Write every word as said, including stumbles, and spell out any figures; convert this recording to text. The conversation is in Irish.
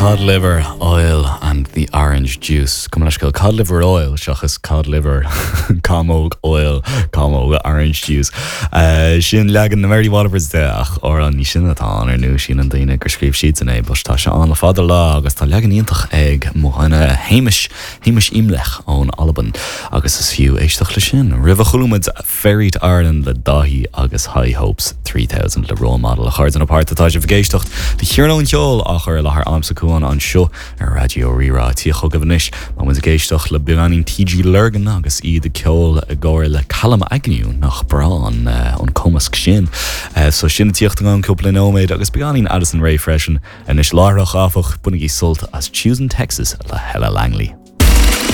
Cod liver oil and the orange juice. Gabh mo leithscéal cod liver oil seachas cod liver camóg oil camóg orange juice. Uh, sin leagan na Mary Wallopers de ach amhrán ní sin atá an ar nó sin an daoine gur scríobh siad san é, but tá sé an le fada lá agus tá leagan iontach ag mo dhuine Hamish Hamish Imlach ón Albain agus is fiú éisteacht le sin. Roimhe chuala muid Ferry to Ireland le Daithí agus High Hopes trí thousand le Role Model a chairde na páirt atá sibh ag éisteacht de Chiarán Ceol á chur i láthair agamsa Cuan anseo ar Raidió Rí-Rá tí chugaibh anois má muid ag éisteacht le beagáinín T G Lurgan agus iad ag ceol i gcomhar le Callum Agnew nach breá an an cumasc sin. Uh, so sin tíocht an cúpla nóiméad agus beagáinín Addison Rae freisin anois láithreach áfach bainigí sult as Choosing Texas le Hella Langley.